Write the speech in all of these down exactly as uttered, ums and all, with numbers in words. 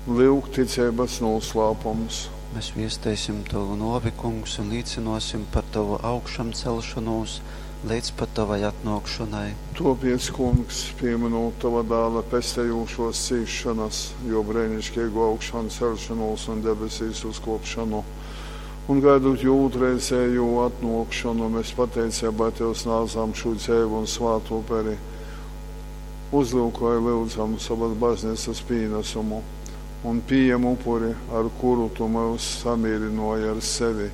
Lyuk ticeibas nūslāpums. Mēs viesteisim tovu nōvi, Kungs, un līcynōsim par tovu augšamceļšonūs leidz pat tovai atnōkšonai. Tōpēc, Kungs, pīmynūt tova Dāla pestejūšōs cīsšonas, jō breiniškeigū augšanceļšonūs un debesīs uzkōpšonu, un gaidūt jō ūtrreizejū atnōkšonu, mes pateiceibā tev snādzam šū dzeivu un svātu uperi. Uzlyukoj, lyudzam, sovas bazneicas pīnasumu un pījem upuri, ar kuru tu myus samīrynōji ar sevi,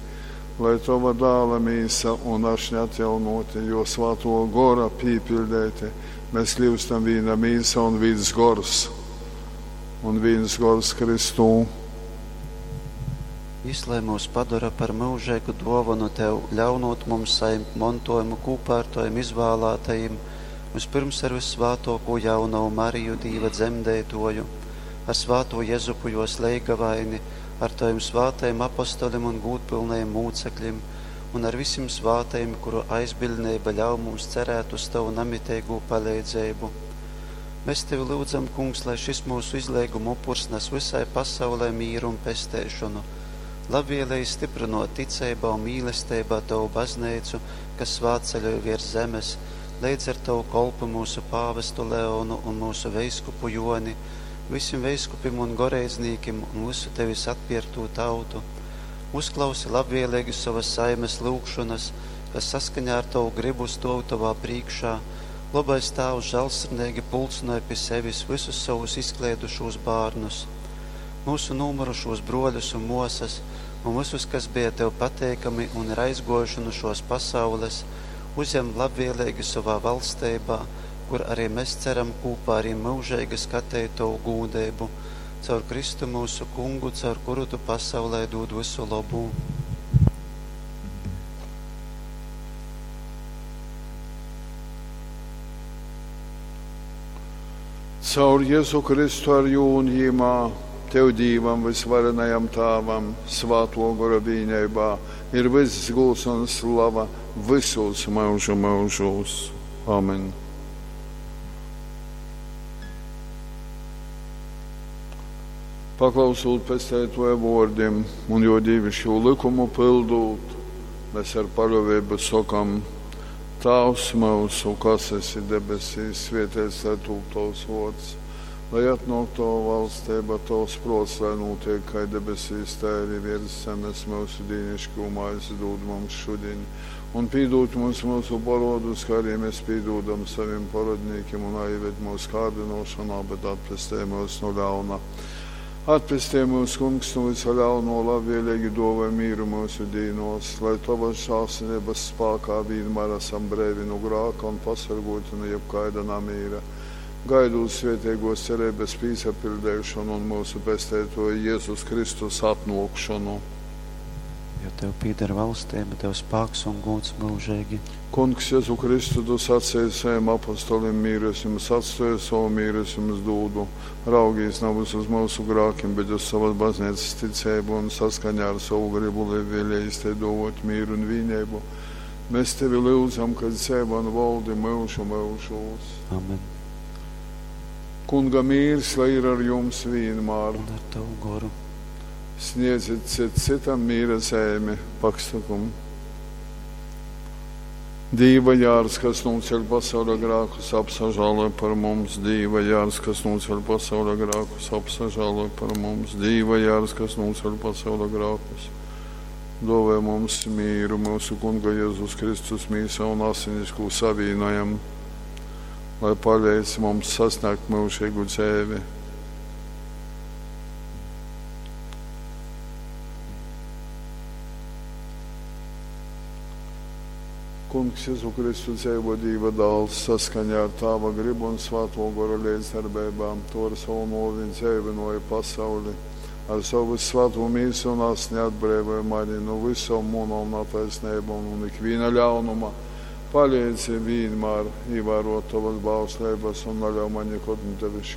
lai tova Dāla mīsa un ašņa atjaunōti, jō Svātō Gora pīpiļdeiti, mēs kļyustam vīna mīsa un vīns gors, un vīns gors Kristū. Jys lai myus padora par myužeigu dōvonu tev, ļaunūt mums sajimt montōjumu kūpā ar tovim izvālātajim, vyspyrms ar vyssvātōkū jaunovu Mariju, Dīva dzemdeitōju, ar svātū Jezupu jōs leigavaini, ar tovim svātajim apostolim un gūdpylnajim mūceklim un ar visim svātajim, kuru aizbiļdneiba ļauj mums cerēt uz tovu namiteigū paleidzeibu. Mēs tevi lyudzam, Kungs, lai šis mūsu izleiguma upurs nes visai pasaulē mīru un pesteišonu. Labvēlīgi stiprinot ticeibā un mīlesteibā tavu bazneicu, kas svātceļoj viers zemes, leidz ar tavu kolpu mūsu pāvestu Leonu un mūsu veiskupu Joni, visim veiskupim un goreidznīkim un visu tevis atpierktū tautu. Uzklausi labvēlīgi sovas saimes lūgšanas, kas saskaņā ar tavu gribu stōv tovā prīškā. Lobais Tāvs žālsirdīgi pulcināja pie sevis visus savus izkleidušos bērnus, mūsu nomirušos broļus un mosas, un visus, kas bija tev pateikami un ir aizgojuši no šos pasaules, uzņem labvēlīgi savā valstībā, kur arī mēs ceram kopā ar viņiem mūžīgi skatīt tavu gūdību, caur Kristu mūsu kungu, caur kuru tu pasaulē dod visu labu. Caur Jēzu Kristu ar jū un jīmā, tev Dīvam vysvarenajam Tāvam, svāto gora vīneibā, ir vyss gūds un slava visos mūžu mūžos. Amen. Paklausūt pesteitoja vōrdim un jo dīvišķū likumu pildūt, mēs ar paļōvību sokam: Tāvs mūsu, kas esi debesīs, svētīts lai tūp tavs vārds, lai atnāk tava valstība, tavs prāts, lai notiek kā debesīs, tā arī virs zemes. Mūsu dīnišķo maizi dod mums šodien, un pīdod mums mūsu parodus, kā arī mēs pīdodam saviem parodnīkiem, un aizved mūsu kārdinošanā, bet atpestē mūs no ļauna. Atpestī mūs, Kungs, no visa ļauno, labvēlīgi dāvā mīru mūsu dīnos, lai tavas žēlsirdības spēkā vienmēr esam brīvi no grāka un pasargoti no jebkaida namīra. Gaidot svētīgos cerības pīsapildēšanu un mūsu pestētoja Jēzus Kristus atnākšanu. Jo tev pieder valstība, tev spēks un gūds mūžīgi. Kungs, Jēzu Kristu, tu sacīji saviem apostolim, mīru es jums atstāju, savu mīru es jums dūdu. Raugīs nevis uz mūsu grākiem, bet uz savas baznīcas ticību un saskaņā ar savu gribu, lai vēlējies te dot mīru un vienību. Mēs tevi lūdzam, kad dzīvo un valdi mūžu mūžos. Amen. Kunga mīrs, lai ir ar jums vienmēr. Un ar tavu goru. Sniedziet cit citam mīra zemi, paksakumu. Dīva jārs, kas nūceļ pasaules grākus, apsažāloj par mums. Dīva jārs, kas nūceļ pasaules grākus, apsažāloj par mums. Dīva jārs, kas nūceļ pasaules grākus, dāvā mums mīru, mūsu Kunga Jēzus Kristus mīsa un asinis, ko savīnojam, lai palīdz mums sasniegt mūžīgu dzīvi. Kungs Jēzu Kristu dzīvo Dieva dēls saskaņā ar Tāva gribu un Svēto Gora līdzdarbībām, to ar savu novi dzīvinoja pasauli, ar savu svēto mīsu un asni atbrīvoja mani no visām munām netaisnībām un ikviena ļaunuma. Palīdzi vienmēr ievērot tavas bausleibas un neļauj man nekad no tevis